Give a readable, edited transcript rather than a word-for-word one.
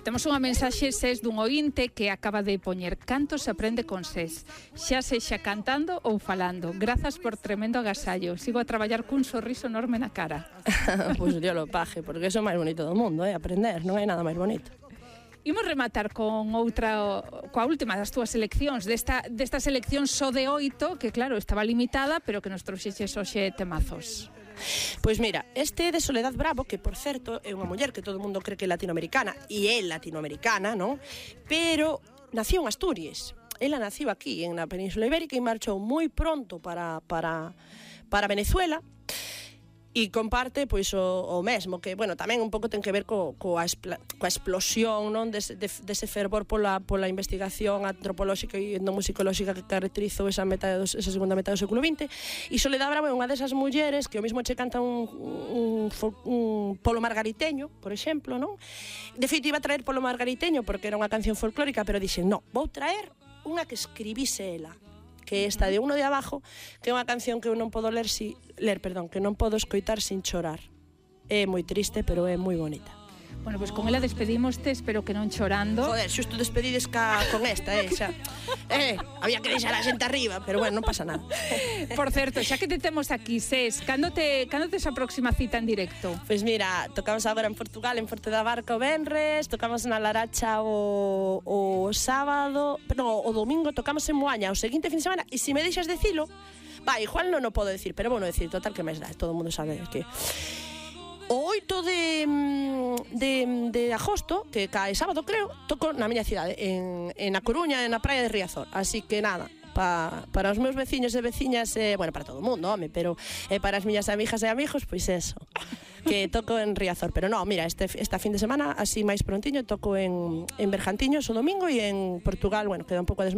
Temos unha mensaxe SES dun ointe que acaba de poñer: canto se aprende con SES, xa sexa cantando ou falando. Grazas por tremendo agasallo. Sigo a traballar cun sorriso enorme na cara. Pois Dios lo paje, porque iso é o máis bonito do mundo, aprender, non hai nada máis bonito. Imos rematar con outra, coa última das túas seleccións, desta selección só de 8, que claro, estaba limitada, pero que nos trouxeches hoxe temazos. Pois mira, este de Soledad Bravo, que por certo é unha muller que todo o mundo cree que é latinoamericana, e é latinoamericana, non? Pero nació en Asturias. Ela nació aquí, na Península Ibérica, e marchou moi pronto para Venezuela, e comparte pois o mesmo, que, bueno, tamén un pouco ten que ver coa explosión, non, dese fervor pola investigación antropolóxica e etnomusicolóxica que caracterizou esa segunda metade do século XX. E Soledad Bravo é unha desas mulleres que o mesmo che canta un polo margariteño, por exemplo, non? De feito, iba a traer polo margariteño porque era unha canción folclórica, pero dixen, no, vou traer unha que escribise ela, que esta de Uno de Abajo, que é unha canción que eu non podo que non podo escoitar sin chorar. É moi triste, pero é moi bonita. Bueno, pois con ela despedimoste, espero que non chorando. Joder, xusto despedides con esta, xa. Había que deixar a xente arriba, pero bueno, non pasa nada. Por certo, xa que te temos aquí, SES, cando tes a próxima cita en directo? Pois mira, tocamos agora en Portugal, en Forte da Barca o venres, tocamos na Laracha o sábado, no, o domingo tocamos en Moaña o seguinte fin de semana, e se me deixas decilo, igual non o podo decir, pero bueno, decir, total que máis dá, todo o mundo sabe que o 8 de agosto, que cae sábado, creo, toco na miña cidade, en A Coruña, na praia de Riazor. Así que nada, para os meus veciños e veciñas, bueno, para todo o mundo, home, pero para as miñas amigas e amigos, pois eso, que toco en Riazor. Pero non, mira, esta fin de semana, así máis prontiño, toco en Bergantiños o domingo, e en Portugal, bueno, queda un pouco